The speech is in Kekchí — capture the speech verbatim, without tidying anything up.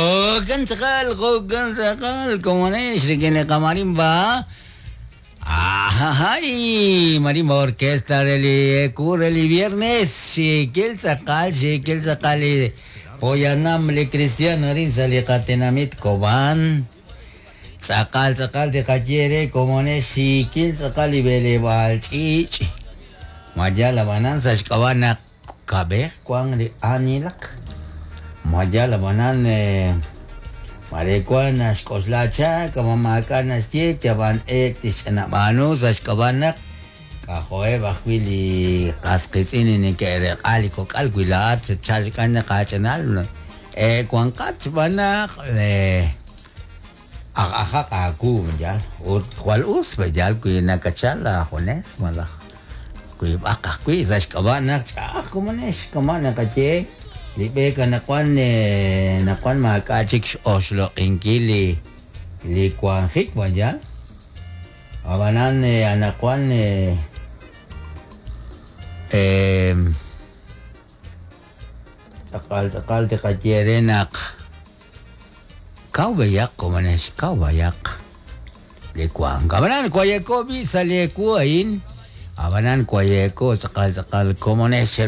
Jo'kan tz'aqal, jo'kan tz'aqal, komonex rik'in li qamarimba. Ajajay, marimba orquesta re li eku re li viernes, xikil tz'aqal, xikil tz'aqal li poyanam li cristiano arin sa' li qatinamit Cobán. Tz'aqal tz'aqal tiqaye re komonex xikil tz'aqal li b'eleb'aal ch'iich'. Mayal ab'anan sa' xk'ab'a' naq kab'ej wan li aanilak. Mayal ab'anan mare wan naxk'oxla chak ab'an maak'a' naxye yab'an eek tixch'anab'aanu sa' xk'ab'a' naq k'ajo'eb' ajwi' li qas qiitz'in li neke'req'a li kok'al wi laa'at xatchal xk'an naq aach'anal e wanqat xb'aan naq aj ajaq aawu yal ut jwal us yal wi nakachal aajunes malaj wiib'aq ajwi' sa' xk'ab'a' naq ch'a'aj komonex kama' naqaye li b'eek anaqwan naqwan maak'a' chik x'oxloq'inkil li li wanjik mayal ab'anan anaqwan tz'aqal tz'aqal tiqaye re naq kaw b'ayaq komonex kaw b'ayaq li wank ab'anan wayeko b'i' sa' li ewu a'in ab'anan wayeko tz'aqal tz'aqal komonex